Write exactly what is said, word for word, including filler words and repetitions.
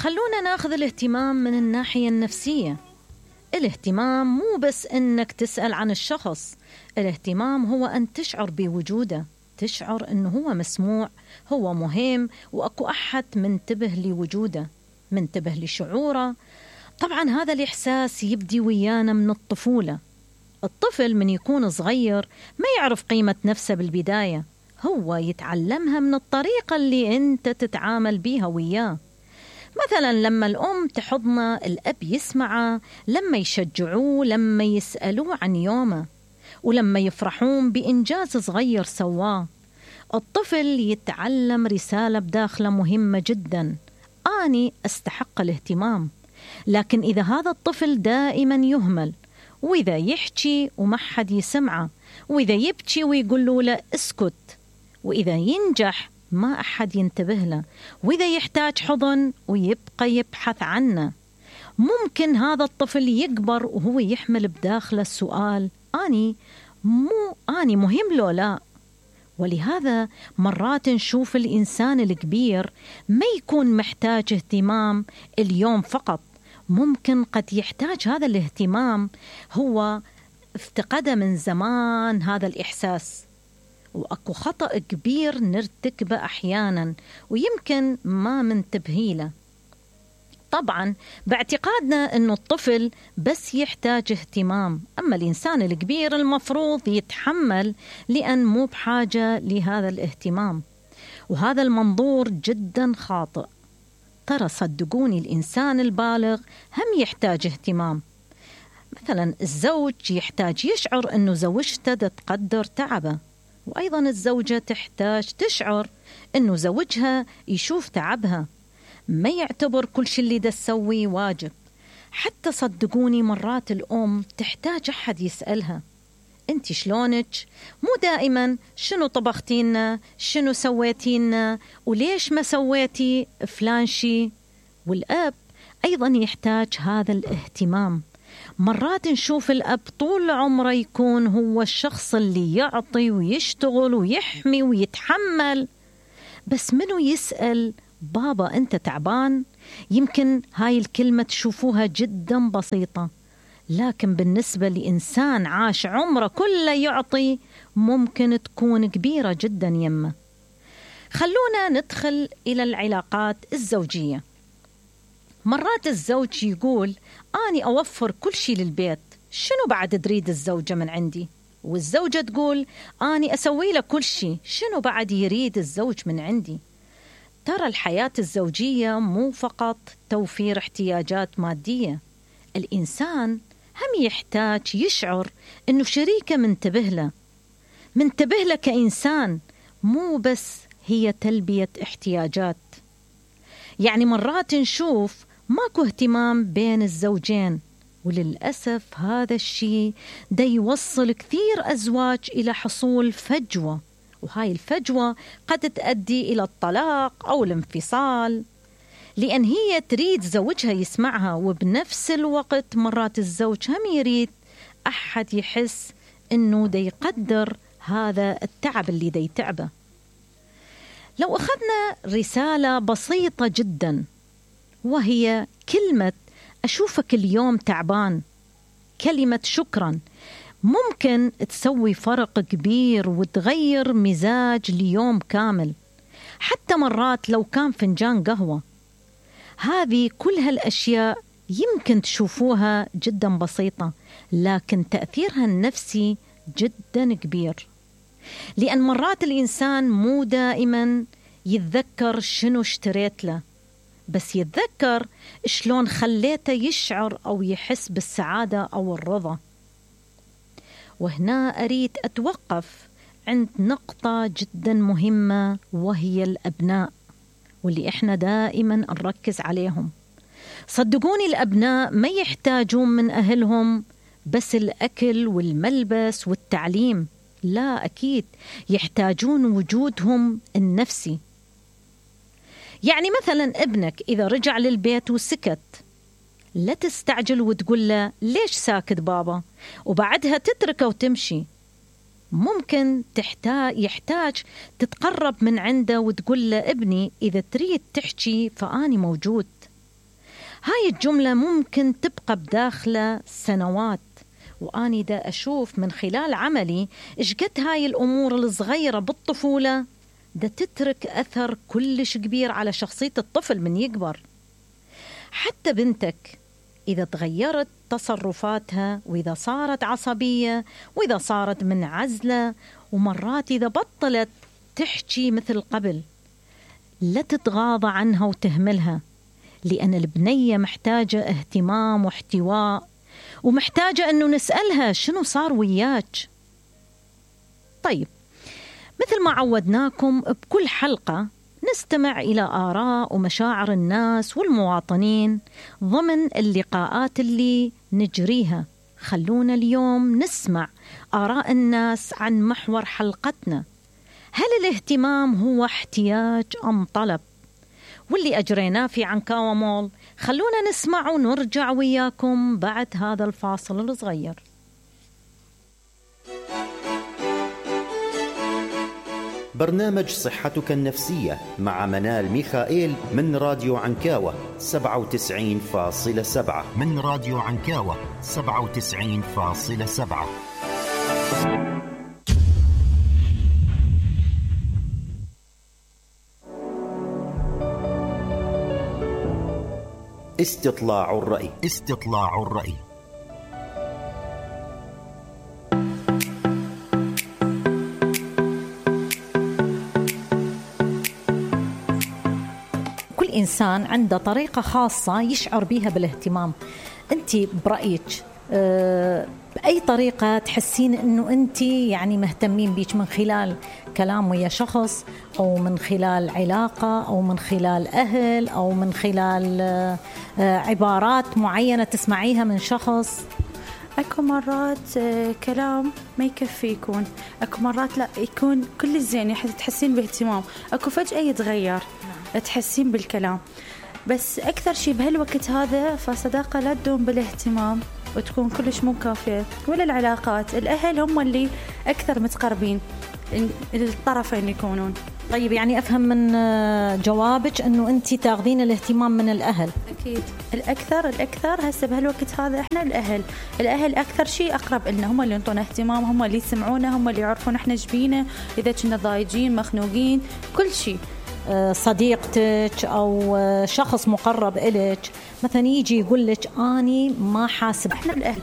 خلونا ناخذ الاهتمام من الناحية النفسية. الاهتمام مو بس إنك تسأل عن الشخص، الاهتمام هو أن تشعر بوجوده، تشعر إنه هو مسموع، هو مهم، وأكو أحد منتبه لوجوده، منتبه لشعوره. طبعا هذا الإحساس يبدي ويانا من الطفولة. الطفل من يكون صغير ما يعرف قيمة نفسه بالبداية، هو يتعلمها من الطريقة اللي أنت تتعامل بيها وياه. مثلا لما الأم تحضنه، الأب يسمعه، لما يشجعوه، لما يسألوه عن يومه، ولما يفرحون بإنجاز صغير سواه. الطفل يتعلم رسالة بداخله مهمة جدا: أني أستحق الاهتمام. لكن إذا هذا الطفل دائما يهمل، وإذا يحكي وما حد يسمعه، وإذا يبكي ويقولوا له اسكت، وإذا ينجح ما أحد ينتبه له، وإذا يحتاج حضن ويبقى يبحث عنه، ممكن هذا الطفل يكبر وهو يحمل بداخله السؤال: أني مو أني مهم لو لا؟ ولهذا مرات نشوف الإنسان الكبير ما يكون محتاج اهتمام اليوم فقط، ممكن قد يحتاج هذا الاهتمام، هو افتقده من زمان هذا الإحساس. وأكو خطأ كبير نرتكبه أحيانا ويمكن ما منتبهي له. طبعا باعتقادنا أنه الطفل بس يحتاج اهتمام، أما الإنسان الكبير المفروض يتحمل لأن مو بحاجة لهذا الاهتمام. وهذا المنظور جدا خاطئ. ترى صدقوني الإنسان البالغ هم يحتاج اهتمام. مثلا الزوج يحتاج يشعر أنه زوجته تقدر تعبه، وأيضا الزوجة تحتاج تشعر أنه زوجها يشوف تعبها، ما يعتبر كل شيء اللي دا تسوي واجب. حتى صدقوني مرات الأم تحتاج أحد يسألها: أنت شلونك؟ مو دائما شنو طبختينا، شنو سويتينا، وليش ما سويتي فلان شي. والأب أيضا يحتاج هذا الاهتمام. مرات نشوف الأب طول عمره يكون هو الشخص اللي يعطي ويشتغل ويحمي ويتحمل، بس منو يسأل بابا أنت تعبان؟ يمكن هاي الكلمة تشوفوها جدا بسيطة، لكن بالنسبة لإنسان عاش عمره كله يعطي ممكن تكون كبيرة جدا يمه. خلونا ندخل إلى العلاقات الزوجية. مرات الزوج يقول: أني أوفر كل شيء للبيت، شنو بعد تريد الزوجة من عندي؟ والزوجة تقول: أني أسوي له كل شيء، شنو بعد يريد الزوج من عندي؟ ترى الحياة الزوجية مو فقط توفير احتياجات مادية، الإنسان هم يحتاج يشعر أنه شريكه منتبه له، منتبه له كإنسان، مو بس هي تلبية احتياجات. يعني مرات نشوف ماكو اهتمام بين الزوجين، وللأسف هذا الشيء دا يوصل كثير أزواج إلى حصول فجوة، وهاي الفجوة قد تؤدي إلى الطلاق أو الانفصال، لأن هي تريد زوجها يسمعها، وبنفس الوقت مرات الزوج هم يريد أحد يحس أنه دا يقدر هذا التعب اللي دا يتعبه. لو أخذنا رسالة بسيطة جدا، وهي كلمة أشوفك اليوم تعبان، كلمة شكرا، ممكن تسوي فرق كبير وتغير مزاج ليوم كامل. حتى مرات لو كان فنجان قهوة، هذه كل هالأشياء يمكن تشوفوها جدا بسيطة، لكن تأثيرها النفسي جدا كبير. لأن مرات الإنسان مو دائما يتذكر شنو اشتريت له، بس يتذكر شلون خليته يشعر أو يحس بالسعادة أو الرضا. وهنا أريد أتوقف عند نقطة جدا مهمة، وهي الأبناء، واللي إحنا دائما نركز عليهم. صدقوني الأبناء ما يحتاجون من أهلهم بس الأكل والملبس والتعليم، لا، أكيد يحتاجون وجودهم النفسي. يعني مثلا ابنك إذا رجع للبيت وسكت، لا تستعجل وتقول له ليش ساكت بابا، وبعدها تتركه وتمشي. ممكن تحتاج يحتاج تتقرب من عنده وتقول له ابني إذا تريد تحكي فأني موجود. هاي الجملة ممكن تبقى بداخله سنوات، وأني دا أشوف من خلال عملي إيش قد هاي الأمور الصغيرة بالطفولة دا تترك أثر كلش كبير على شخصية الطفل من يكبر. حتى بنتك إذا تغيرت تصرفاتها، وإذا صارت عصبية، وإذا صارت منعزلة، ومرات إذا بطلت تحكي مثل قبل، لا تتغاضى عنها وتهملها، لأن البنية محتاجة اهتمام واحتواء، ومحتاجة أنه نسألها شنو صار وياك. طيب، مثل ما عودناكم بكل حلقة نستمع إلى آراء ومشاعر الناس والمواطنين ضمن اللقاءات اللي نجريها. خلونا اليوم نسمع آراء الناس عن محور حلقتنا: هل الاهتمام هو احتياج أم طلب؟ واللي أجريناه في عنكاوة مول. خلونا نسمع ونرجع وياكم بعد هذا الفاصل الصغير. برنامج صحتك النفسية مع منال ميخائيل من راديو عنكاوة سبعة وتسعين فاصلة سبعة من راديو عنكاوة سبعة وتسعين فاصلة سبعة. استطلاع الرأي. استطلاع الرأي. كل إنسان عنده طريقة خاصة يشعر بها بالاهتمام. أنت برأيك أه بأي طريقة تحسين أنه أنت يعني مهتمين بيك؟ من خلال كلام ويا شخص، أو من خلال علاقة، أو من خلال أهل، أو من خلال أه عبارات معينة تسمعيها من شخص؟ أكو مرات كلام ما يكفي يكون، أكو مرات لا يكون كل الزين تحسين باهتمام، أكو فجأة يتغير تحسين بالكلام. بس أكثر شيء بهالوقت هذا فصداقة لا تدوم بالاهتمام وتكون كلش مو كافية، ولا العلاقات. الأهل هم اللي أكثر متقربين الطرفين يكونون. طيب، يعني أفهم من جوابك أنه أنت تاخذين الاهتمام من الأهل؟ أكيد الأكثر الأكثر هسه بهالوقت هذا إحنا الأهل الأهل أكثر شيء أقرب لنا، هم اللي ينطون اهتمام، هم اللي يسمعونا، هم اللي يعرفون إحنا جبينا، إذا كنا ضايجين مخنوقين كل شيء. صديقتك أو شخص مقرب إليك مثلا يجي يقول لك أني ما حاسب. إحنا الأهل